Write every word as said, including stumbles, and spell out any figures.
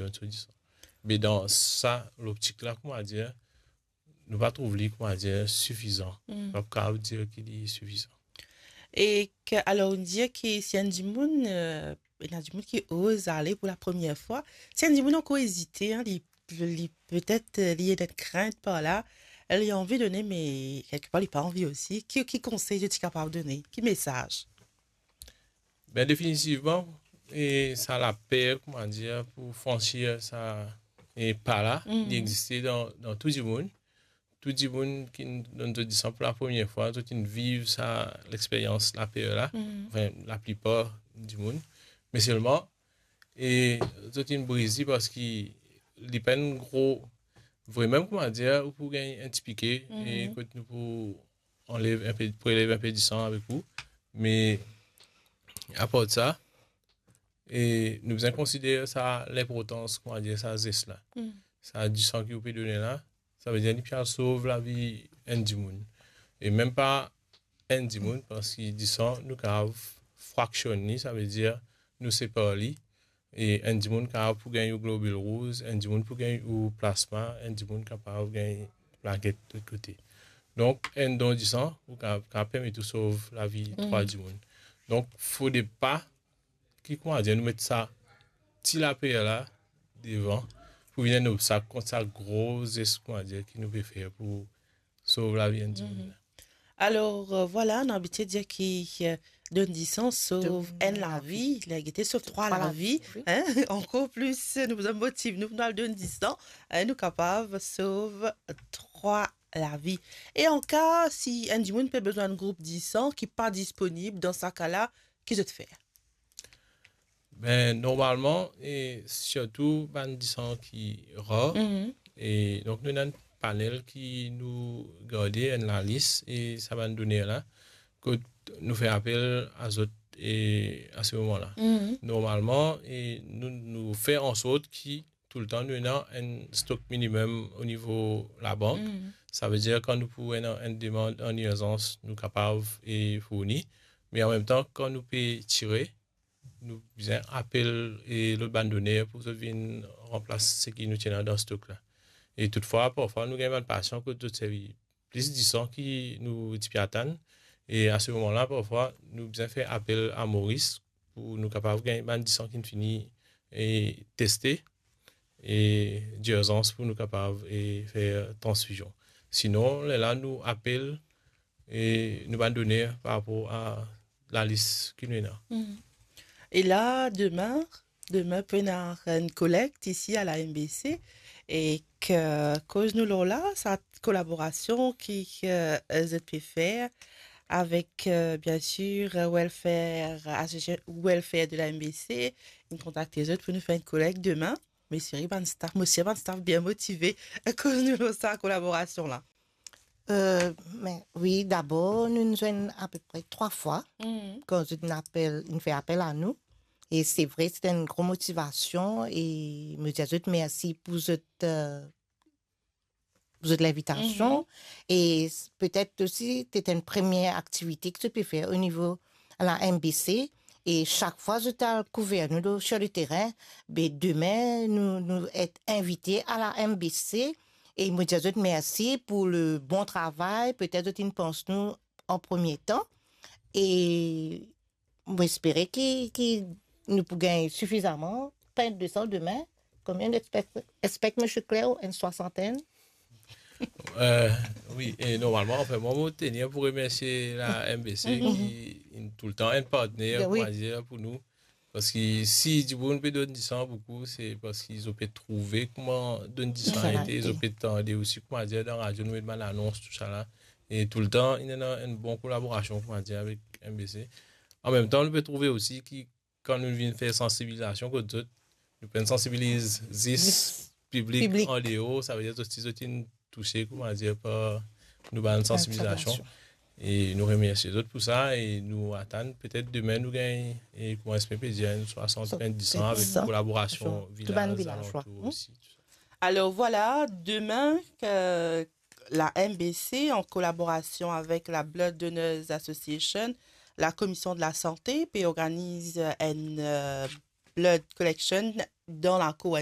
donn so disan. Me dan sa loptik la, koumadir, nou pa trouv li, koumadir, sifizan. Mm. Pa kapav dir ki li sifizan. E ke, alor, nou dir ki si enn dimoun, euh, ena dimoun ki oz ale pou la premie fwa, si enn dimoun ankor ezite, hein, li, li petet, euh, li ena krint par la, li anvi done, me kelkepar li pa anvi osi, ki, ki konsey to ti kapav done? Ki mesaz? Ben, definitivman, e sa laper, koumadir, pou fransir sa, e pa la, mm, li existe dan, dan tou dimoun. Tou dimoun ki donn zot disan pou la premie fwa, zot inn viv sa lexperyans laper la, mm, anfin, laplipar dimoun. Me selman, e zot inn briz li parski li pa enn gro, vremem, koumadir, ou pou gagn enn ti pike, e, mm, kot nou pou anlev enpe, prelev enpe disan avek ou. Me apar sa, e nou bizin konsider sa linportans, koumadir, sa zes la. Mm. Sa disan ki ou pe done la, savedir li pe al sov lavi enn dimoun. E mem pa enn dimoun, parski disan, nou kapav fraksionn li, savedir nou separ li, e enn dimoun kapav pou gagn ou globil rouz, enn dimoun pou gagn ou plasma, enn dimoun kapav gagn plaket lot kote. Donk, enn don disan, ou kapav, kapav permet ou sov lavi, mm, trwa dimoun. Donk, fode pa ki, koumadir, nou met sa ti laper la devan pou vinn enn obstak kont sa gro zes, koumadir, ki nou pe fer pou sov lavi enn dimoun. Mhm. Alor, euh, vwala, nou abitie dir ki, euh, donn disan sov enn lavi, la gete sov trwa lavi, wi. Hein? Ankor plis, nou bizin motiv nou pou nou al donn disan, hein, nou kapav sov trwa lavi. E an ka, si enn dimoun pe bizin enn group disan ki pa disponib, dan sa ka la, ki zot fer? Ben, normalman, e sirtou bann disan ki rar, mhm, e donk nou ena enn panel ki nou garde enn lalis, e sa bann doner la, kot nou fer apel a zot, e a se moman la. Mhm. Normalman, e nou, nou fer ansort ki toultan nou ena enn stok minimem o nivo labank. Mhm. Savedir kan nou pou ena enn demann an irzans, nou kapav, e, fourni. Me anmemtan, kan nou pe tire, nou bizin apel, e, lot bann doner pou zot vinn ranplas seki nou ti ena dan stok la. E toutfwa, parfwa, nou gagn bann pasian kot zot servi plis disan ki nou ti pe atann. E a se moman la, parfwa, nou bizin fer apel a Moris pou nou kapav gagn bann disan ki finn fini, e, teste, e dirzans pou nou kapav, e, fer transfizion. Sinon, lerla nou apel, e, nou bann doner par rapor a lalis ki nou ena. Mhm. E la, demin, demin pou ena enn kolekt isi a la M B C, e ke koz nou lor la, sa kolaborasion ki, ki, euh, zot pe fer avek, euh, bien sir, euh, welfare, asosia-, welfare de la M B C, inn kontakte zot pou nou fer enn kolekt demin. Me seri bann staff, mo sir bann staff bien motive, koz nou lor sa kolaborasion la. Euh, me wi, dabor, nou, nou zwenn apepre trwa fwa, mhm, kan zot inn apel, inn fer apel a nou. E se vre, se enn gro motivasion, e mo dir zot mersi pou zot, euh, pou zot linvitasion. Mhm. E s-, petet osi, se enn premie aktivite ki zot pe fer o nivo la M B C. E sak fwa zot al kouver nou lor, sur le terrain, be demin, nou, nou et invite a la M B C. E mo dir zot mersi pou le bon travay. Petet zot inn pans nou an premie tan. E mo espere ki, ki nou pou gagn sifizaman, pa enn de san demin. Konbien nou expect, expect, Msye Claire, enn swasantenn? Euh, wi, e normalman, anfin, mwa, mo tenir pou remersie la M B C, mhm, ki inn toultan enn partner, ben wi, koumadir, pou nou. Parski si dimoun pe donn disan boukou, se parski zot pe trouve kouma donn disan ete, zot pe tande osi, koumadir, dan radio nou met bann anons, tousala. E toultan, inn ena enn bon kolaborasion, koumadir, avek M B C. Anmemtan, nou pe trouve osi ki kan nou vinn fer sansibilizasion kot zot, nou pena sansibiliz zis piblik andeor, savedir zot, si zot inn touse, koumadir, par nou bann sansibilizasion. E nou remersie zot pou sa e nou atann petet demin nou gagn, e kouma Esme pe dir, enn swasant, enn disan avek kolaborasion vilaz alantour osi, tou sa. Alor vwala, demin, euh, la M B C, an kolaborasion avek la Blood Donors Association, la Komision de la Sante, pe organiz enn, euh, blood collection dan lakour